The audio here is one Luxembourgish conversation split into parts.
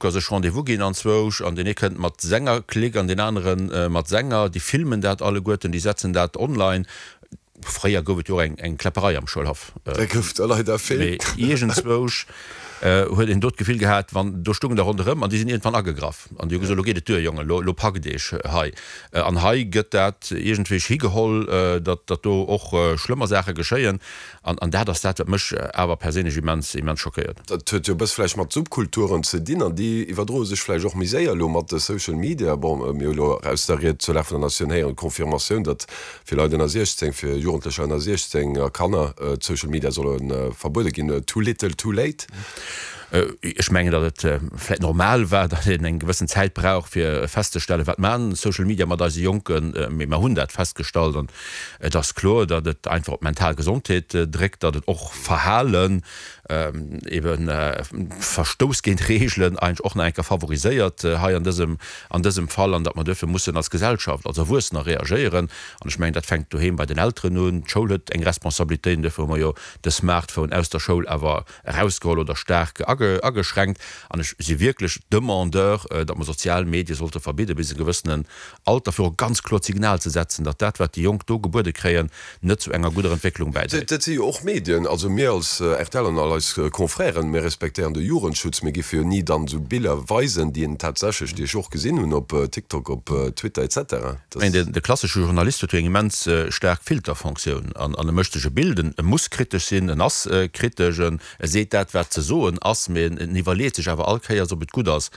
Facebooker sech Rendez-vous ginn anzwousch an deen ee kënnt mat senger Clique an deen anere mat senger. Déi filmen dat alleguerten, déi setzen dat online. Fréier gouf et jo och eng Kläpperei am Schoulhaff. Där gouf der leider vill. Mee iergendzwousch huet een do d'Gefill gehat, wann do stungen der ronderëm an déi sinn iergendwann agegraff an déi hu gesot, Elo geet et duer, Jongen, elo packt Iech hei. An hei gëtt dat iergendwéi higeholl, datt do och schlëmmer Saache geschéien. An dat ass dat, wat mech awer perséinlech immens, immens schockéiert. Dat huet jo e bësse vläicht mat Subkulturen ze dinn an déi iwwerdroe sech vläicht och méi séier elo mat de Social Media. Bon, mir hu elo aus der Ried zur Lag vun der Natioun héieren, d'Confirmatioun, datt fir Leit ënner 16, fir Jugendlecher ënner 16 a Kanner d'Social Media solle verbuede ginn. Too little, too late? Ech mengen, datt et vläicht normal war, datt een eng gewëssen Zäit brauch, fir festzestellen, wat maachen Social Media mat eise Jonken. Mee mer hunn dat festgestallt an et ass kloer, datt et einfach op d'mental Gesondheet dréckt, datt et och Verhalen, ebe Verstouss géint Reegelen eigentlech och nach eng Kéier favoriséiert hei an dësem, an dësem Fall an datt mer duerfir mussen als Gesellschaft, als Erwuessener reagéieren. An ech mengen, dat fänkt doheem bei den Elteren un. D'Schoul huet eng Responsabilitéit an duerfir hu mer jo de Smartphone aus der Schoul awer erausgeholl oder staark ageschränkt. An ech si wierklech Demandeur, datt mer sozial Medie sollte verbidde bis e gewëssenen Alter, fir och e ganz kloert Signal ze setzen, datt dat, wat déi Jonk do gebuede kréien, net zu enger gudder Entwécklung bäidréit. Dat si jo och Medien. Also mir als rtl an all eis Confrèren, mir respektéieren de Jugendschutz. Mir géife jo ni dann esou Biller weisen, déi een tatsächlech, déi ech och gesinn hunn op TikTok, op Twitter et cetera. Ech mengen, de klassesche Journalist huet jo eng immens staark Filterfonctioun an e mécht sech e Bild, en muss kritesch sinn, en ass kritesch, en seet dat, wat ze soen ass, mee en iwwerleet sech awer all Kéiers, ob et gutt ass,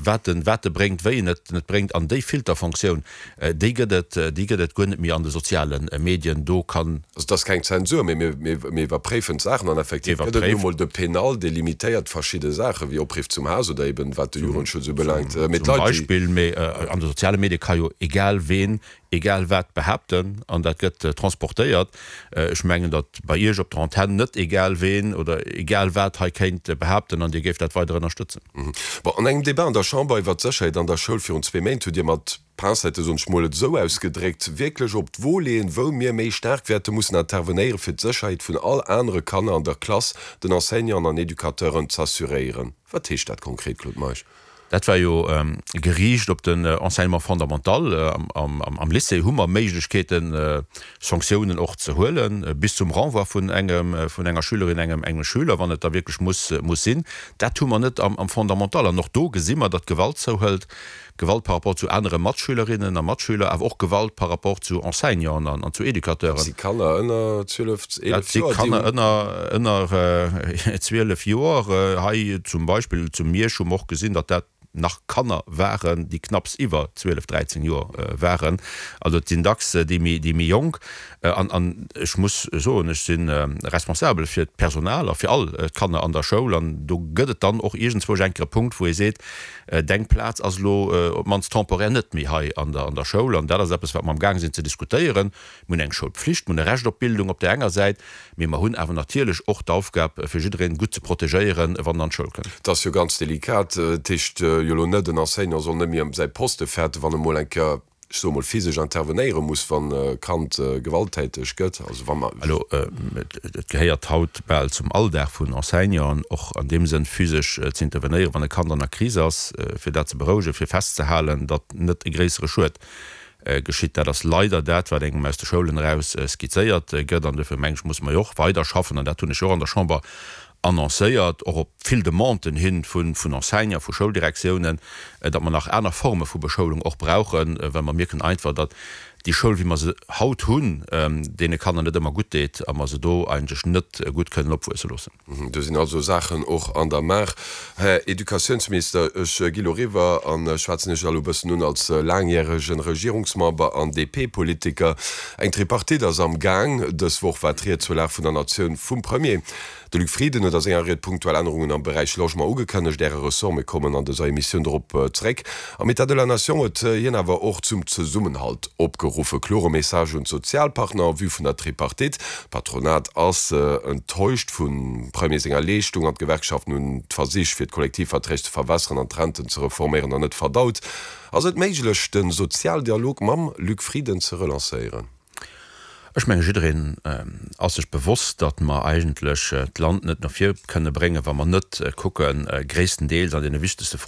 wat en wat e bréngt, wéi en et bréngt. An déi Filterfonctioun, déi gëtt et, déi gëtt et guer net méi an de soziale Medien. Do kann. Also et ass keng Zensur, mee mir iwwerpréifen d'Saachen an effektiv gëtt et nu mol de Penal, dee limitéiert verschidde Saachen, wéi Opriff zum Haass oder eben wat de Jugendschutz ubelaangt. Mee d'Leit, déi. Zum Beispill, mee an de soziale Medie ka jo egal ween egal wat behaapten an dat gëtt transportéiert. Ech mengen, datt bei Iech op der Antenn net egal ween oder egal wat hei kéint behaapten an Dir géift dat weider ënnerstëtzen. Bon, an engem Debat an der Chamber iwwert d'Sécherheet an der Schoul virun zwee Méint hutt Dir mat Pincette, soen ech mol, et esou ausgedréckt, wierklech op d'Wo leeën, wou mir méi staark wäerte mussen intervenéieren, fir d'Sécherheet vun all anere Kanner an der Klass, den Enseignanten an Educateuren z'assuréieren. Wat heescht dat konkret, Claude Meisch? Dat war jo geriicht op den Enseignement fondamental. Am Lycée hu mer Méiglechkeeten, Sanktiounen och ze huelen, bis zum Renvoi vun engem, vun enger Schülerin, engem, engem Schüler, wann et da wierklech muss, muss sinn. Dat hu mer net am Fondamental. An och do gesi mer, datt d'Gewalt zouhëlt. Gewalt par rapport zu anere Matschülerinnen a Matschüler, awer och Gewalt par rapport zu Enseignanten an zu Educateuren. Dat si Kanner ënner 12, 11 Joer, déi. Dat si Kanner ënner, ënner 12 Joer. Hei zum Beispill zu Miersch hu mer och gesinn, datt dat nach Kanner waren, déi knapps iwwer 12, 13 Joer waren. Also et sinn dacks déi méi, déi méi Jonk. An, an ech muss soen, ech si responsabel fir d'Personal a fir all d'Kanner an der Schoul. An do gëtt et dann och iergendzwousch eng Kéier e Punkt, wou ee seet, Deng Plaz ass elo op d'mannst temporär net méi hei an der an der Schoul. An dat ass eppes, wat mer amgaang sinn ze diskutéieren. Mir hunn eng Schoulpflicht, mir hunn e Recht op Bildung op där enger Säit, mee mer hunn awer natierlech och d'Aufgab, fir jiddereen gutt ze protegéieren, wann en an d'Schoul kënnt. Dat ass jo ganz delikat. Dat heescht jo elo net, en Enseignant soll net méi ëm säi Poste fäerten, wann e mol eng Kéier, ech soe mol, physesch intervenéiere muss, wann e Kand gewalttäteg gëtt. Also wa mer. Elo, et gehéiert haut bal zum Alldag vun Enseignanten, och an deem Sënn physesch ze intervenéieren, wann e Kand an der Kris ass, fir dat ze berouegen, fir festzehalen, datt net e gréissere Schued geschitt. Dat ass leider dat, wat engem aus de Schoulen eraus skizzéiert gëtt. An duerfir, meng ech, musse mer jo och weiderschaffen, an dat hunn ech jo och an der Chamber annoncéiert, och op vill Demanden hin vun Enseignanten, vu Schouldirektiounen, datt mer nach aner Forme vu Beschoulung och brauchen, well mer mierken einfach, datt déi Schoul, wéi mer se haut hunn, deene Kanner net ëmmer gutt deet a mer se do eigentlech net gutt kënnen opwuesse loossen. Do sinn also Saachen och an der Maach. Här Educatiounsminister, ech gi lo riwwer a schwätzen Iech elo e bëssen un als laangjäregen Regierungsmember an DP-Politiker. Eng Tripartite ass am Gaang. Dës Woch war d'Ried zur Lag vun der Natioun vum Premier. De Luc Frieden huet a senger Ried punktuell Ännerungen am Beräich Logement ugekënnegt. Äre Ressort, mir kommen an dëser Emissioun dorop zeréck. Am État de la Nation huet hien awer och zum Zesummenhalt opgeruff. E klore Message un d'Sozialpartner en vue vun der Tripartite. D'Patronat ass enttäuscht vum Premier senger Leeschtung an d'Gewerkschaften hunn d'Versich fir d'Kollektivverträg ze verwässeren an d'Renten ze reforméieren nach net verdaut. Ass et méiglech de Sozialdialog mam Luc Frieden ze relancéieren? Ech menge jiddereen ass sech bewosst, datt mer eigentlech d'Land net no vir kënne bréngen, wa mer net kucken, gréisstendeels an deene wichtegste Froen.